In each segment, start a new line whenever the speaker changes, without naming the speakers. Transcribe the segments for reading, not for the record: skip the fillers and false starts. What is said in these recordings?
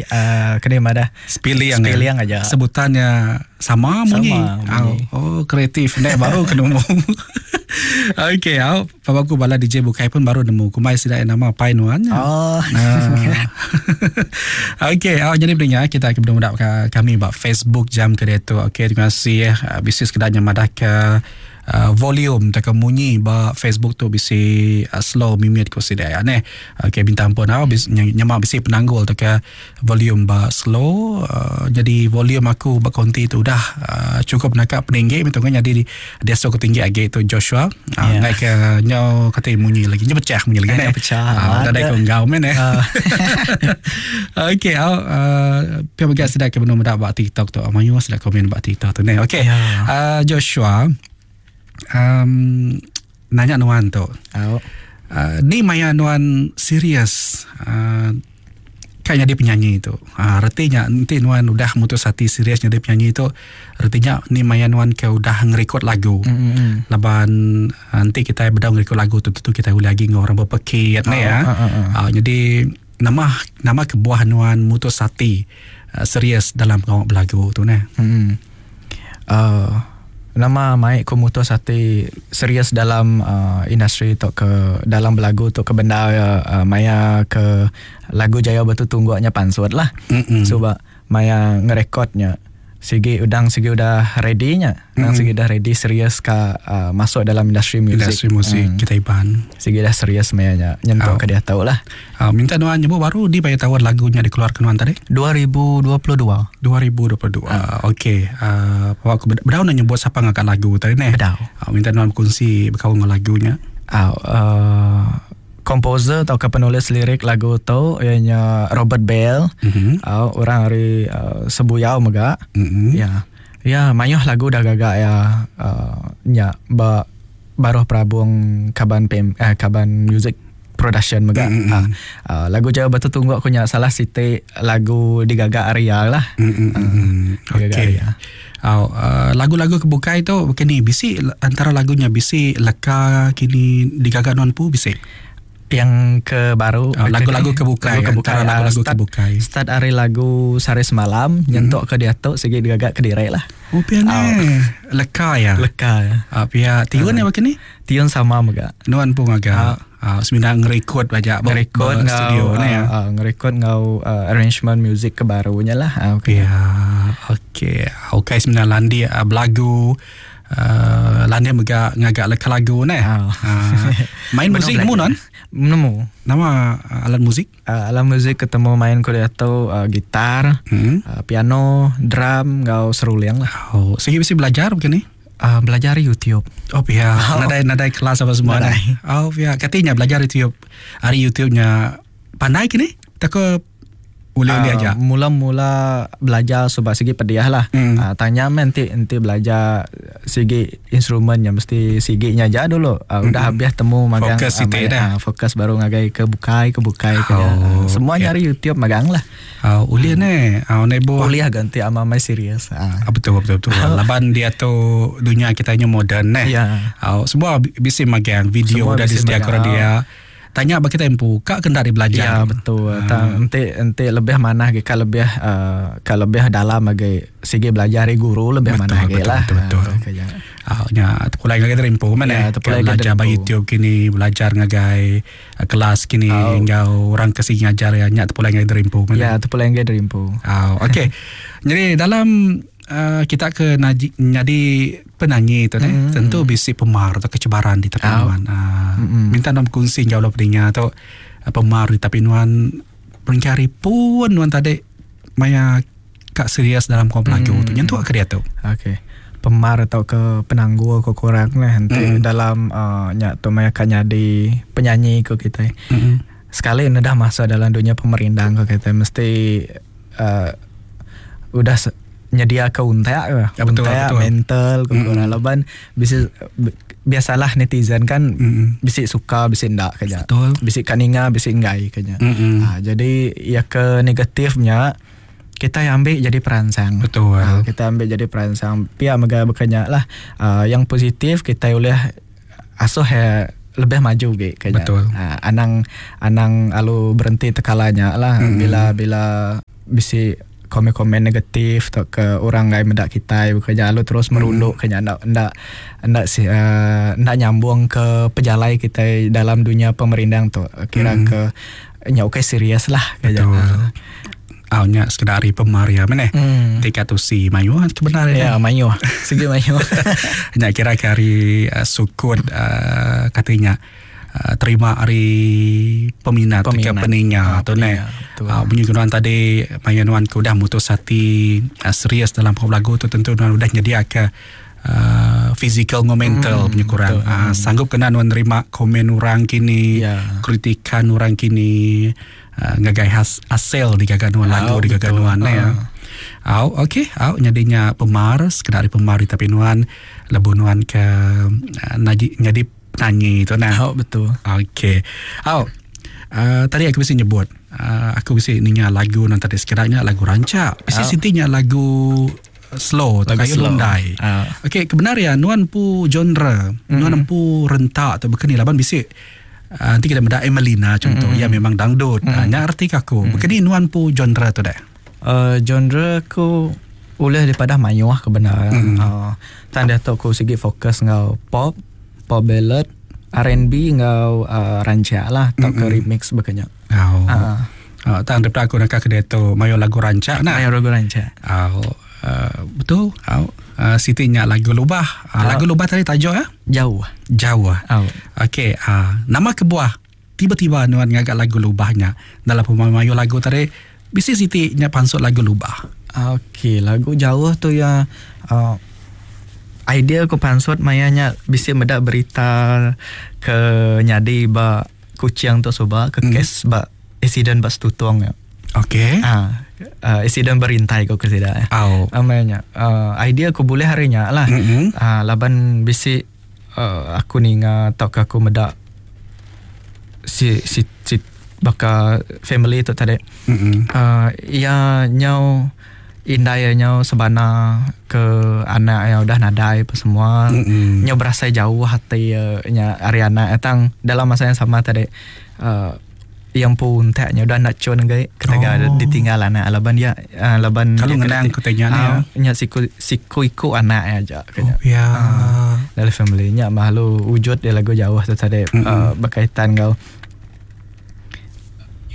sigi uh, kena madah
Spiling
Spiling aja.
Sebutannya sama munyi.
Sama munyi.
Oh, oh kreatif nek baru kena nemu. Okey, au paba aku bala DJ bukai pun baru nemu kumbai sida iya nama apai nuan nya.
Oh.
Ah. Okey, au jadi pendengar kita ke benung ka kami ba Facebook jam ke diatu. Okey, terima kasih eh. Ah, Bisi sekeda nya madah ke uh, volume tauka munyi ba Facebook tu bisi uh, slow mimit ku sida ya neh. Okey, minta ampun au bis, nyema bisi penanggul tauka volume ba slow uh, jadi volume aku ba konti tu udah uh, cukup naka peninggi metu kan jadi diasuh ke tinggi agi tu Joshua uh, yeah. ke nyau kata munyi lagi nya pecah munyi lagi
neh pecah
uh, nadai ko enggau men eh uh. okey uh, uh, pia mega sida ke benung meda ba TikTok tu mayuh sida komen ba TikTok tu neh okey yeah. uh, Joshua um, nanya nuan tu
uh.
Uh, ni maya nuan serius uh, ka nyadi penyanyi tu. Ha, reti nya enti nuan udah mutus ati serius nyadi penyanyi tu, reti nya ni maya nuan ke udah ngerekod lagu.
Mm-hmm.
Laban ha, enti kitai bedau ngerekod lagu tu tentu kitai ulih agi enggau orang bepekit ne ya. Ha, jadi nama nama kebuah nuan mutus ati uh, serius dalam pengawa belagu tu neh.
Mm-hmm. Uh, nama mai ku mutus ati serius dalam uh, industri tu ke dalam belagu tu ke bendar uh, maya ke lagu Jaya Batu Tungguk nya pansut lah.
Mm-mm.
So ba maya ngerekodnya sigi udang sigi udah ready nya. Udang mm-hmm. sigi udah ready serius ka uh, masuk dalam industri muzik.
Industri muzik mm. kita Iban.
Sigi dah serius maya nya nyentuk oh. ke dia tahu lah.
Uh, minta nuan nyebut baru di bayar tahun lagunya dikeluarkan nuan tadi?
2022.
2022. Uh. Okey. Uh, aku bedau nak nyebut siapa ngangkat lagu tadi neh.
Bedau.
Uh, minta nuan berkongsi berkaul dengan lagunya.
Uh, uh, komposer atau ke penulis lirik lagu tu ianya Robert Bell.
Mm-hmm.
Uh, orang dari uh, Sebuyau mega.
Mm-hmm.
Ya. Ya, mayuh lagu dah gagak ya uh, nya ba baruh perabung Kaban PM, eh, Kaban Music Production mega.
Mm-hmm.
Uh, uh, lagu Jaya Batu Tungguk aku nya salah siti lagu digagak Arya lah.
Mm-hmm.
Uh,
Okey.
Arya.
Oh, uh, lagu-lagu kebukai tu kini bisi antara lagunya bisi leka kini digagak nuan pu bisi.
Yang ke baru
oh, lagu-lagu kebukai,
lagu kebukai
antara lagu-lagu
start,
kebukai.
Start hari lagu sehari semalam mm. nyentuk ke diatu sigi digagak ke direk lah.
Oh pian oh. Leka ya.
Leka ya.
Uh, pia tiun ya begini?
Tiun sama mega.
Nuan pun agak uh, semina ngerekod aja
ngerekod
studio
ngau,
ni ya.
Uh, ngerekod ngau uh, arrangement music ke barunya lah. Uh,
okay. Ya, okey. Okey semina landi uh, belagu Uh, Landi mega ngagak leka lagu neh.
Oh.
Uh, main muzik nemu non?
Nemu.
Nama uh, alat muzik?
Uh, alat muzik ketemu main ku diatu uh, gitar,
hmm.
uh, piano, drum, ngau seruling lah.
Oh, sigi bisi belajar begini?
Uh, belajar YouTube.
Oh pihak. Oh. Nadai nadai kelas apa semua
nadai.
Oh pihak. Katanya belajar YouTube. Hari YouTube-nya pandai kini? Tak Boleh-boleh
uh,
aja.
Mula-mula belajar sebab segi pediah lah.
Mm.
Uh, tanya men nanti nanti belajar segi instrumennya mesti siginya aja dulu. Uh, mm. Udah habis temu magang.
Fokus
uh,
uh, dah.
Uh, fokus baru ngagai ke bukai ke bukai ke.
Oh,
uh, semua
okay.
nyari YouTube magang lah.
Uh, uliah hmm. ne, uh, nebo.
Uliah ganti ama mai serius.
Uh. Betul betul betul. Laban dia tu dunia kita nya moden ne.
Yeah.
Uh, semua bisi magang video
Semua
dah
bisi
disediakan
magang.
dia. Tanya bagi kita empu, kak kena di belajar.
Ya betul.
Ah.
Tang enti enti lebih mana ge ka lebih uh, ka lebih dalam age sigi belajar dari guru lebih
Betul,
mana ge
betul,
lah.
betul, betul.
Ah, kaya.
Ah, nya terpulai ngagai terimpu mana
Ya,
eh.
terpulai
Ka
ngagai
belajar ba
terimpu.
YouTube kini belajar ngagai uh, kelas kini
Oh.
ngau orang ke sini ngajar ya nya terpulai ngagai terimpu mana.
Ya, terpulai ngagai terimpu.
Ah, okey. Jadi dalam uh, kita ke naji, jadi penyanyi tu mm. tentu bisi pemar atau kecebaran di tepi
Oh.
nuan. Uh, mm. Minta nom kongsi jauh lah pendengar atau uh, pemar di tepi nuan peringkari pun nuan tadi maya kak serius dalam kau belagu mm. tu. Nyentuh ke dia tu.
Okey. Pemar atau ke penangguh ke kurang lah nanti dalam uh, nya tu maya kan jadi penyanyi ke kita.
Mm.
Sekali ini dah masuk dalam dunia pemerindang ke kita mesti uh, udah nyedia ke untak ke.
Ya, betul,
untak,
betul.
mental ke kurang laban bisa biasalah netizen kan
Mm-mm.
bisik suka bisik ndak kenya.
Betul.
Bisik kaninga bisik enggai kenya.
Mm-mm.
Ha, jadi ya ke negatifnya kita yang ambil jadi perangsang.
Betul.
Ha, kita ambil jadi perangsang. Pihak mega berkenyak lah. Uh, yang positif kita boleh asuh ya lebih maju ge kenya.
Betul.
Ha, anang anang alu berhenti tekalanya lah
Mm-mm.
bila bila bisi komen-komen negatif tauka orang enggai meda kitai bekereja lalu terus merundu ke nya enda enda enda si uhh enda nyambung ke pejalai kitai dalam dunya pemerindang tu kira ke nya ukai serius lah.
Betul. Au nya sekeda ari pemar iya meh neh. Ti ka tusi mayuh ke bendar
iya. Ya mayuh. Sigi mayuh.
Nya kira ke ari sukut uhh kati nya terima ari peminat ke peninga tu neh. Munyi ke nuan tadi maya nuan ke udah mutus ati serius dalam pengawa belagu tu tentu nuan udah nyediaka uhh fizikal enggau mental punya kurang. Uhh sanggup kena nuan nerima komen orang kini, kritikan orang kini uhh ngagai asil digaga nuan lagu digaga nuan neh. Au okey au nyadi nya pemar sekeda ari pemar ditapi nuan lebuh nuan ke nyadi Penanyi tu nah.
Au betul.
Okey. Au. Uh, tadi aku bisi nyebut uh, aku bisi ninga lagu nang tadi sekeda nya lagu rancak. Bisi oh. siti nya lagu slow tu kayu lundai. Oh. Okey, kebenar ya nuan empu genre, mm-hmm. nuan empu rentak tu bekeni laban bisi uh, nanti kita meda Emelina contoh mm-hmm. ya memang dangdut. Mm-hmm. Uh, nya arti ke aku. Mm-hmm. Bekeni nuan empu genre tu deh.
Uh, genre aku ulih dipadah mayuh ke bendar. Mm. Uh, tang diatu aku sigi fokus enggau pop, pop ballad, R&B enggau uh, rancak lah tauka mm -hmm. remix baka nya.
Oh. Uh. Uh, tang daripada aku nak ke diatu mayuh lagu rancak
nah. Mayuh lagu rancak.
Oh. Uh, betul. Oh. Uh, siti nya lagu lubah. Uh, oh. Lagu lubah tadi tajuk ya?
Jauh.
Jauh. Oh. Okey, uh, nama kebuah Tiba-tiba nuan ngaga lagu lubah nya. Dalam pemayuh lagu tadi, bisi siti nya pansut lagu lubah.
Okey, lagu jauh tu iya uhh idea ku pansut maya nya bisi meda berita ke nyadi ba Kuching tu suba ke kes ba accident ba Stutong nya.
Okey.
Aaa accident berintai ku ke sida.
Au.
Maya nya uhh idea ku bulih ari nya lah uhh laban bisi. Aku ninga tauka aku meda si si si baka family tu tadi uhh iya nyau indai iya nyau sebana ke anak iya udah nadai apa semua nyau berasai jauh ati iya nya ari anak iya tang dalam masa yang sama tadi uhh Iya empu untak nya udah enda chun agi ketegal oh. ditinggal anak laban dia uh, laban
kalau ngenang ku tanya ni
uh, nya siku siku iku anak iya aja
kenya. Oh, ya.
Uh, dalam family nya malu wujud dia lagu jauh tu tadi mm -hmm. uh, berkaitan enggau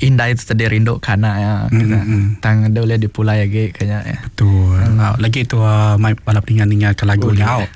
indai tu tadi rindu ke anak ya. Mm -hmm. Tang dia boleh dipulai lagi kenya
ya. Betul. Mm. Lagi tu uh, mai bala peninga ninga ke lagu nya.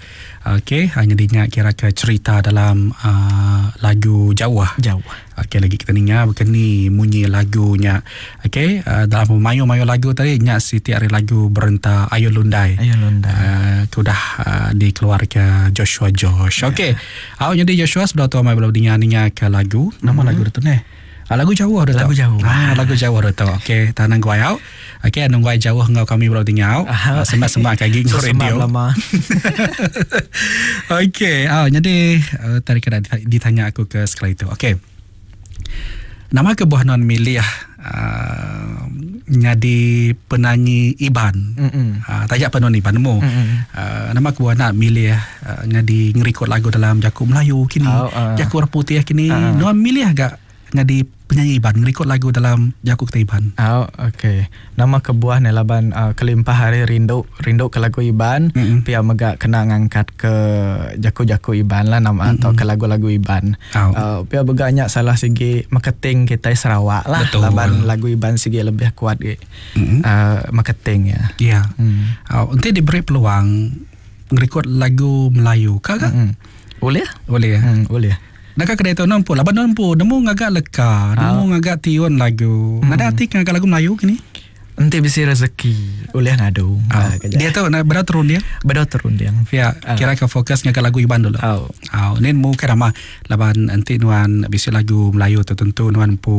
Okey, hanya dinga kira ke cerita dalam uh, lagu jauh.
Jauh.
Okey lagi kita ninga bekeni munyi lagu nya. Okey, uh, dalam mayuh-mayuh lagu tadi nya siti ari lagu berenta Ayun Lundai.
Ayun Lundai.
Uh, ke udah uh, dikeluarka Joshua Josh. Ya. Okey. Yeah. Au jadi Joshua sebelum tu mai belum dinga ninga ke lagu. Nama mm-hmm. lagu tu neh. Ah, lagu jauh dah
Lagu jauh.
Ah, lagu jauh dah tu. Okey, tanang guai au. Okey, anu guai jauh enggau kami belum dinga au. Ah, sembah-sembah kagi
enggau radio. Lama.
Okey, ah jadi uh, tadi kena ditanya aku ke sekali tu. Okey. Nama kebuah nuan milih uh, nyadi penanyi Iban.
Mm -mm.
Uh, taja pa nuan Iban nemu.
Mm -mm.
Uh, nama kebuah nak milih uh, nyadi ngerikod lagu dalam jaku Melayu kini,
oh, uh.
jaku orang putih kini. Uh. Nuan milih gak nyadi penyanyi Iban ngerikod lagu dalam jaku kitai Iban.
Au okey. Nama kebuah ne laban uh, kelimpah ari rindu rindu ke lagu Iban mm -hmm. pia mega kena ngangkat ke jaku-jaku Iban lah nama mm -hmm. atau ke lagu-lagu Iban.
Au.
Uh, pia mega nya salah sigi marketing kitai Sarawak lah
Betul.
laban lagu Iban sigi lebih kuat gi
mm -hmm.
uh, marketing ya.
Ya.
Mm.
Au enti diberi peluang ngerikod lagu Melayu ka ga?
Mm -hmm. Ulih?
Ulih.
Mm, ulih.
Naka kedai tu nempu laban nempu nemu ngaga leka, nemu ngaga tiun lagu.
Hmm.
Nadai ati ke ngaga lagu Melayu kini?
Enti bisi rezeki ulih ngadu.
Ah, dia tu nak bedau terunding.
Bedau terunding.
Ya, kira ke fokus ngaga lagu Iban dulu.
Au.
Au, ni nemu ke nama laban enti nuan bisi lagu Melayu tu tentu nuan empu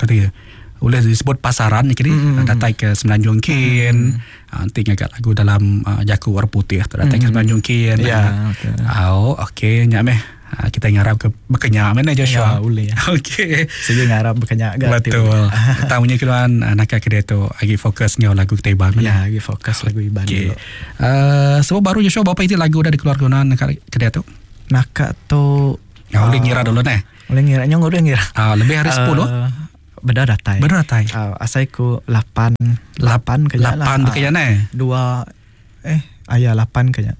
kata ya. Ulih disebut pasaran ni kini
Mm.
datai ke Semenanjung kin.
Mm.
Enti ngaga lagu dalam jaku orang putih tu datai ke
Mm.
Semenanjung kin.
Ya, betul.
Au, okey nya meh. Kitai ngarap ke baka nya meh neh Joshua.
Ya, ulih.
Okey.
Sigi ngarap baka nya ga.
Betul. Tang munyi keluan naka ke diatu agi fokus enggau lagu kitai Iban meh.
Ya, agi fokus lagu Iban
Okey.
dulu.
Sebab baru Joshua berapa iti lagu udah dikeluarka nuan naka ke diatu?
Naka tu
Ya, ulih ngira dulu neh.
Ulih ngira, nyong ulih ngira.
Lebih ari 10?
Beda datai.
Beda datai.
Asai ku 8 8 ke
nya lah. 8 ke nya neh.
Dua eh aya 8 ke nya.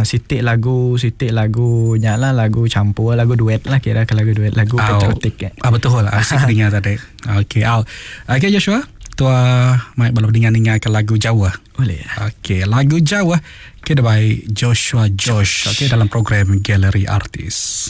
Siti lagu siti lagu nya lah lagu campur lagu duet lah kira ke lagu duet lagu patriotik
ya. Ah betul lah asik ninga tadi. Okey au. Okey Joshua, tua mai bala ninga-ninga ke lagu jauh.
Boleh.
Okey, lagu jauh ke by Joshua Josh okey dalam program Galeri Artis.